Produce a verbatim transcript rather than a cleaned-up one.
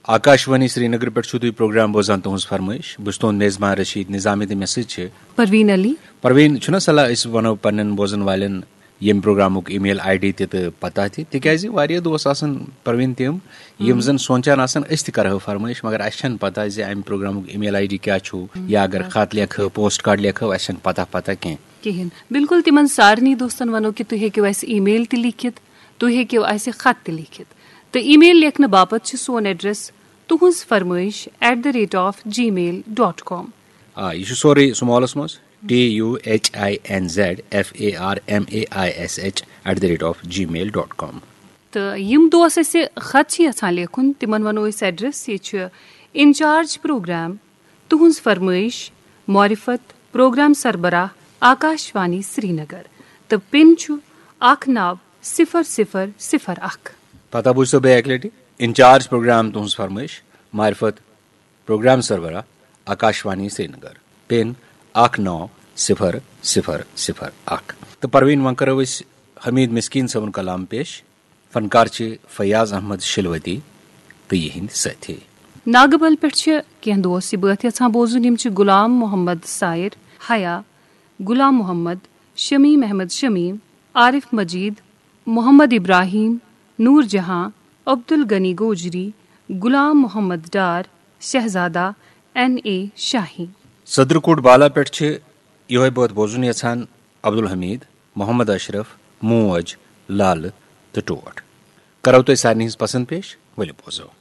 آکاشوانی سرینگر پٮ۪ٹھ چھُو تُہۍ پروگرام بوزان، تُہٕنٛز فرمٲیش۔ بہٕ چھُس تُہُنٛد میزبان رشید نظامی تہٕ مےٚ سۭتۍ چھِ۔ پروین علی۔ پروین، چھُنہ صلاح أسۍ وَنو پننٮ۪ن بوزن والٮ۪ن ییٚمہِ پروگرامُک email ID تہِ تہٕ پتہ تہِ، تِکیازِ واریاہ دوس آسان پروین تِم یِم زن سونچان آسان أسۍ تہِ کرہو فرمٲیش، مگر اسہِ چھنہٕ پتہ زِ امہِ پروگرامُک email ID کیٛاہ چھُ، یا اگر خط لیکھو، پوسٹ کارڈ لیکھو، اسہِ چھنہٕ پتہ پتہ کینٛہہ۔ کِہیٖنۍ۔ بالکل تِمن سارنٕے دوستن ونو کہِ تُہۍ ہیٚکِو اسہِ email تہِ لیکھِتھ، تُہۍ ہیٚکِو اسہِ خط تہِ لیکھِتھ۔ تہٕ email لیکھنہٕ باپتھ چھِ سون address تُہٕنٛز فرمٲیش at the rate of gmail dot com۔ آ، یہِ چھُ سورُے small-س منٛز، T U H I N Z F A R M A I S H at the rate of gmail dot com۔ تہٕ یِم دوس اسہِ خط چھِ یژھان لیکھُن، تِمن ونو أسۍ address۔ یہِ چھُ انچارج پروگرام، تُہٕنٛز فرمٲیش، معرفت، پروگرام سربراہ، آکاشوانی سرینگر، تہٕ پن چھُ اکھ نو صفر صفر صفر اکھ۔ پتہ بوٗزتو بیٚیہِ اکہِ لٹہِ، انچارج پروگرام، تُہٕنٛز فرمٲیش، معرفت، پروگرام سربراہ، آکاشوانی سرینگر، پن اکھ نو صفر صفر صفر اکھ۔ تہٕ پروین، وۄنۍ کرو أسۍ حمید مسکین صٲبُن کلام پیش۔ فنکار چھِ فیاض احمد شلوتی تہٕ یِہنٛدۍ سٲتھی۔ ناگہٕ بل پٮ۪ٹھ چھِ کینٛہہ دوس یہِ بٲتھ یژھان بوزُن۔ یِم چھِ غلام محمد سائر حیا، غلام محمد، شمیم احمد شمیم، عارف مجید، محمد ابراہیم، نور جہاں، عبدالغنی گوجری، غلام محمد ڈار، شہزادہ این اے شاہی۔ صدر کوٹ بالا پٮ۪ٹھ چھِ یِہوٚے بٲتھ بوزُن یژھان عبدالحمید، محمد اشرف، موج، لالہٕ تہٕ ٹوٹھ۔ کرو تۄہہِ سارنٕے ہٕنٛز پسند پیش، ؤلِو بوزو۔